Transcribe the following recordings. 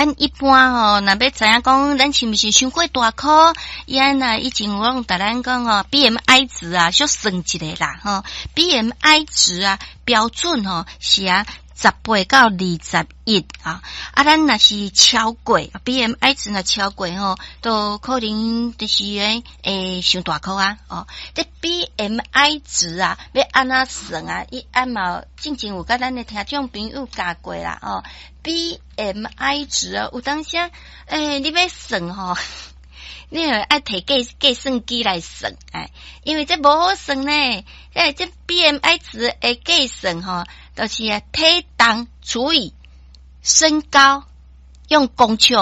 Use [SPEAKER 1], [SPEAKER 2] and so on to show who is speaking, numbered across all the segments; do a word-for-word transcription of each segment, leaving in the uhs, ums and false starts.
[SPEAKER 1] 咱一般吼，若欲知影講，咱是毋是傷過大箍？伊按若以前有攏共咱講吼，B M I 值啊，小算一下啦，吼，B M I 值啊，標準吼是啊，十八到二十一啊，啊，咱若是超過 B M I 值若超過吼，都可能就是會會傷大箍啊，哦，這 B M I 值啊，欲按怎算啊？伊按嘛進前有共咱的聽眾朋友教過啦，哦，B M I 值啊，有當時啊，欸，你欲算吼，你著愛提計計算機來算，哎，因為這無好算呢，欸，這 B M I 值的計算吼，就是啊，體重除以身高，用公尺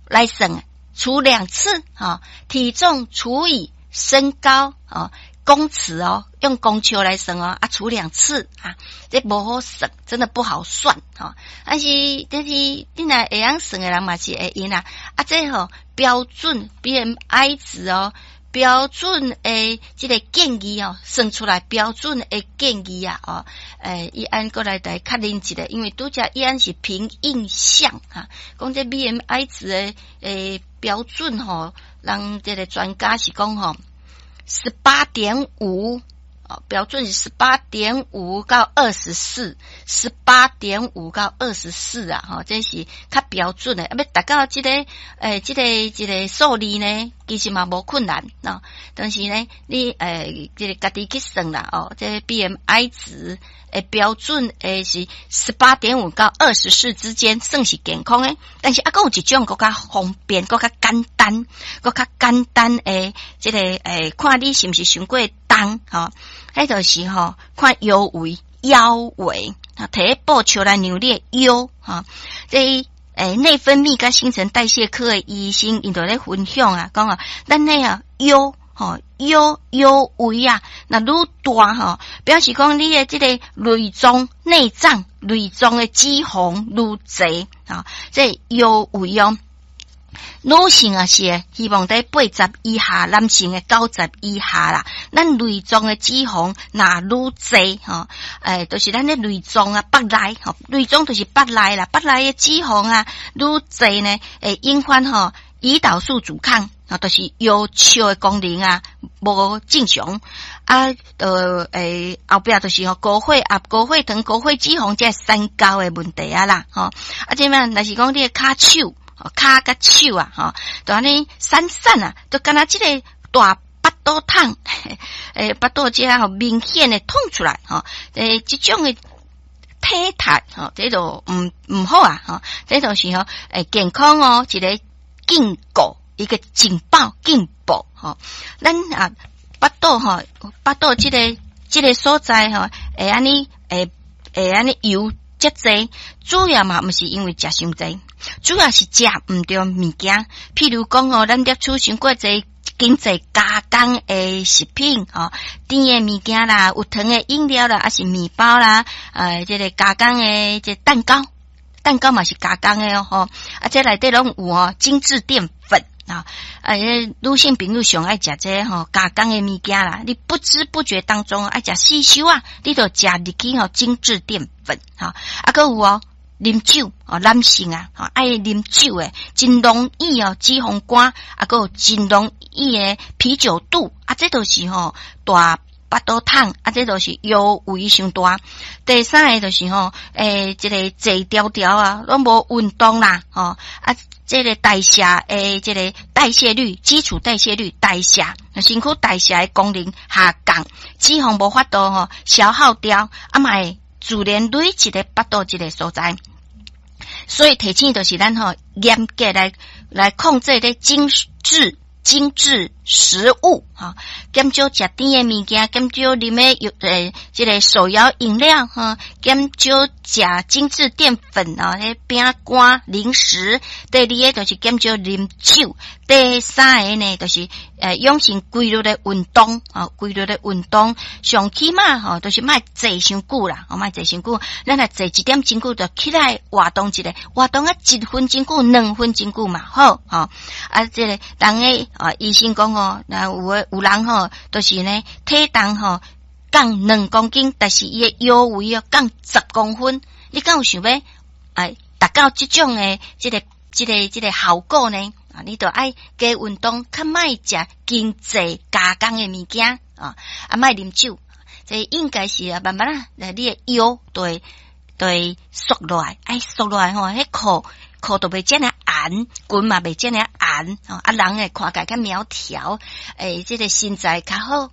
[SPEAKER 1] 來算，除兩次，哈，體重除以身高，哦，公尺哦，用公尺來算哦，啊，除兩次啊，這無好算，真的不好算，哈。但是，但是你若會曉算的人嘛是會用啦，啊，這吼標準 B M I 值哦。標準的這個建議哦，算出來標準的建議啊，哦，欸，伊按閣來來確認一下，因為拄才伊按是憑印象哈，講這 B M I 值的欸標準吼，人這個專家是講吼，十八點五哦，標準是十八點五到二十四，十八點五到二十四啊，吼，這是較標準的。啊，欲達到這個欸，這個這個數字呢，其實嘛無困難喏。但是呢，你欸，這個家己去算啦，哦，這個 B M I 值的標準的是十八點五到二十四之間，算是健康的。但是啊，閣有一種閣較方便、閣較簡單、閣較簡單的這個欸，看你是毋是傷過重吼。彼就是吼，看腰圍、腰圍啊，提布尺來量你的腰吼。這欸內分泌佮新陳代謝科的醫生，𪜶就咧分享啊，講啊，咱那啊腰吼腰腰圍啊，若愈大吼，表示講你的這個內臟內臟內臟的脂肪愈濟啊，這腰圍哦。女性啊是希望佇八十以下，男性的九十以下啦。咱內臟的脂肪若愈濟吼，欸，就是咱的內臟啊，腹內吼，內臟就是腹內啦，腹內的脂肪啊愈濟呢，會引發吼胰島素阻抗啊，就是腰笑的功能啊無正常啊，就欸後壁就是吼高血壓、高血糖、高血脂肪這三高的問題啊啦，吼啊，這擺若是講你的跤手，跤佮手啊，吼，就按呢散散啊，就敢若這個大腹肚痛，欸，腹肚這吼明顯的痛出來，吼，欸，這種的體態，吼，這就毋毋好啊，吼，這就是吼，欸，健康哦，一個警告，一個警報，警報，吼，咱啊，腹肚吼，腹肚這個這個所在吼，會按呢，會會按呢油遮濟，主要嘛毋是因為食傷濟。主要是食毋著物件，譬如講吼，咱攝取傷過濟經濟加工的食品，吼，甜的物件啦，有糖的飲料啦，抑是麵包啦，呃，這個加工的這蛋糕，蛋糕嘛是加工的哦，吼，啊，這內底攏有哦，精緻澱粉啊，啊，女性朋友上愛食這吼加工的物件啦，你不知不覺當中愛食四修啊，你就食入去吼精緻澱粉，吼，啊，閣有哦。啉酒哦，男性啊，愛啉酒的，真容易哦，脂肪肝，啊，閣有真容易的啤酒肚，啊，這都是吼大腹肚痛，啊，這都是腰圍傷大。第三个就是吼，欸，這個坐牢牢啊，攏無運動啦，吼，啊，這個代謝的這個代謝率，基礎代謝率代謝，身軀代謝的功能下降，脂肪無法度吼消耗掉，啊嘛會自然累積佇腹肚這個所在。所以提醒就是咱吼嚴格來來控制這精緻精緻食物，哈，減少食甜的物件，減少啉的欸，這個手搖飲料，哈，減少食精緻澱粉啊，彼餅乾、零食。第二个就是減少啉酒。第三个呢，就是呃養成規律的運動，啊，規律的運動，上起碼吼，就是莫坐傷久啦，莫坐傷久。咱若坐一點鐘久，就起來活動一下，活動啊一分鐘久、兩分鐘久嘛好，吼。啊，這個人的啊，醫生講吼，若有的有人吼，就是呢體重吼降兩公斤，但是伊的腰圍哦降十公分，你敢有想欲哎達到這種的這個？這个這个效果呢？啊，你著愛加運動，較莫食精製加工的物件啊，啊，莫啉酒，這應該是啊，慢慢啊，你的腰就會就會縮落來，愛縮落來吼，彼褲褲就袂遮爾絚，裙嘛袂遮爾絚，啊，人會看起來較苗條，欸，這个身材較好。